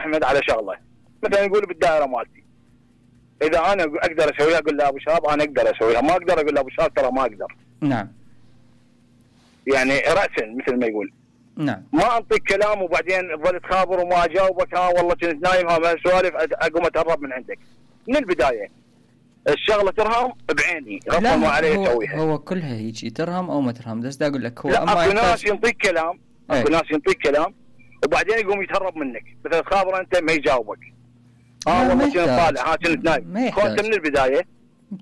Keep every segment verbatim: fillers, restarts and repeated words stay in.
احمد على شغله، مثلا يقول بالدائره مالتي اذا انا اقدر اسويها اقول له ابو شهاب انا اقدر اسويها، ما اقدر اقول له ابو شهاب ترى ما اقدر. نعم. يعني راسا مثل ما يقول. نعم. ما اعطيك كلام وبعدين تظل تخابر وما اجاوبك، ها والله كنت نايم ها سوالف اقوم اتهرب من عندك. من البدايه الشغله ترهم بعيني غصبا ما عليه اسويها. هو كلها هيك ترهم او ما ترهم، بس دا اقول لك هو لا اما اكو ناس ينطيك كلام، اكو ناس ينطيك كلام وبعدين يقوم يتهرب منك، مثلا تخابر انت ما يجاوبك. اه والله كنت طالع ها كنت نايم. كنت من البدايه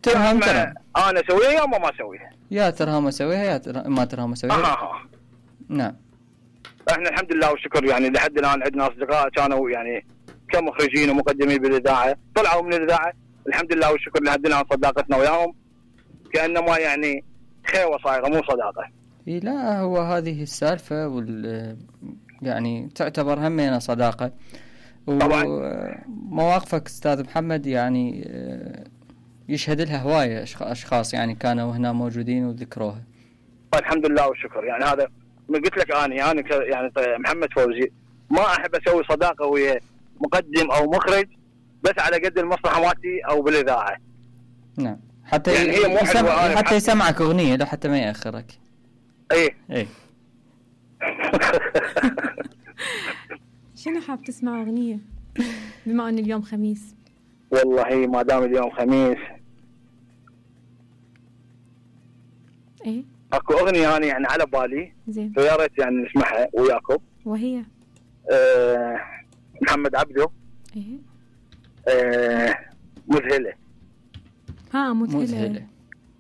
ترهم ترهم انا اسويها يا ما اسويها. يا ترهم اسويها يا ترهم ما ترهم اسويها. آه آه. نعم. احنا الحمد لله والشكر يعني لحد الان عندنا اصدقاء كانوا يعني كمخرجين ومقدمين بالاذاعه طلعوا من الاذاعه، الحمد لله والشكر لحد الان صداقتنا وياهم كانما يعني خيوه صايره مو صداقه. اي لا هو هذه السالفه وال يعني تعتبر همينه صداقه. طبعا مواقفك استاذ محمد يعني يشهد لها هوايه اشخاص يعني كانوا هنا موجودين وذكروها. الحمد لله والشكر. يعني هذا ما قلت لك اني انا يعني محمد فوزي ما احب اسوي صداقه ويا مقدم او مخرج بس على قد المصلحه مالتي او بالاذاعه. نعم. حتى يعني هي مو يسمع حتى يسمعك اغنيه لو حتى ما ياخرك. ايه ايه. شنو حاب تسمع اغنيه بما ان اليوم خميس؟ والله ما دام اليوم خميس ايه اكو اغنيه انا يعني على بالي زين فيا ريت يعني نسمعها وياكم. وهي آه محمد عبده. ايه آه مذهله. ها مذهله, مذهلة.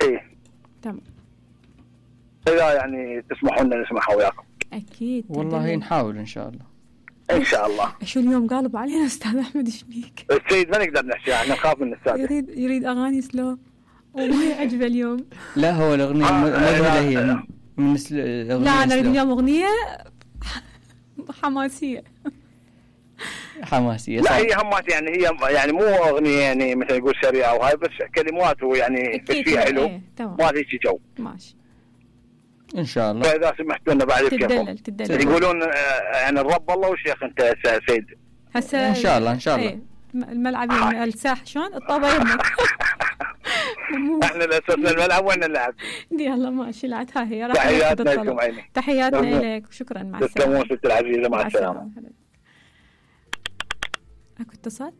ايه تمام. اذا يعني تسمحوا لنا نسمعها وياكم. اكيد والله تدلل. نحاول ان شاء الله. ان شاء الله. شو اليوم قالب علينا استاذ احمد ايش بيك؟ السيد ما نقدر نحكي احنا نخاف من السادة. يريد يريد اغاني سلو وما يعجبه اليوم. لا هو الاغنيه آه مذهله هي من الاغنيه. لا انا اريد اليوم اغنيه حماسيه. حماسيه لا هي همات يعني هي يعني مو اغنيه يعني مثل يقول سريعه وهاي بس كلمات ويعني فيها حلو. ايه ما في جو. ماشي ان شاء الله. فاذا سمحتوا لنا بعد كيفكم. تدلل تدلل يقولون يعني الرب الله والشيخ انت سيد. هسه ان شاء الله ان شاء الله. ايه الملعب الساحه شلون الطابه يمك. احنا الاساسنا الملعب وين نلعب. يلا ماشي لعت ها هي. تحياتنا لكم عيني. تحياتنا لك وشكرا مع السلامه. تسلمون ست العزيزه مع السلامه. اكو اتصال؟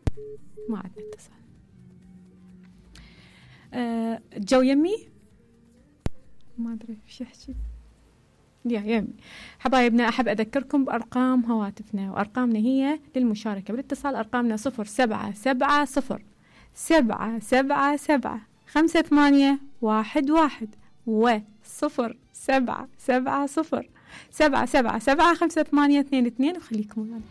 ما عندنا اتصال. أه جو يمي ما ادري ايش احكي. يا يمي حبايبنا احب اذكركم بارقام هواتفنا وارقامنا هي للمشاركه بالاتصال. ارقامنا صفر سبعة سبعة صفر سبعة سبعة سبعة خمسة ثمانية واحد واحد وصفر سبعة سبعة صفر سبعة سبعة سبعة خمسة ثمانية اثنين اثنين وخليكم معنا.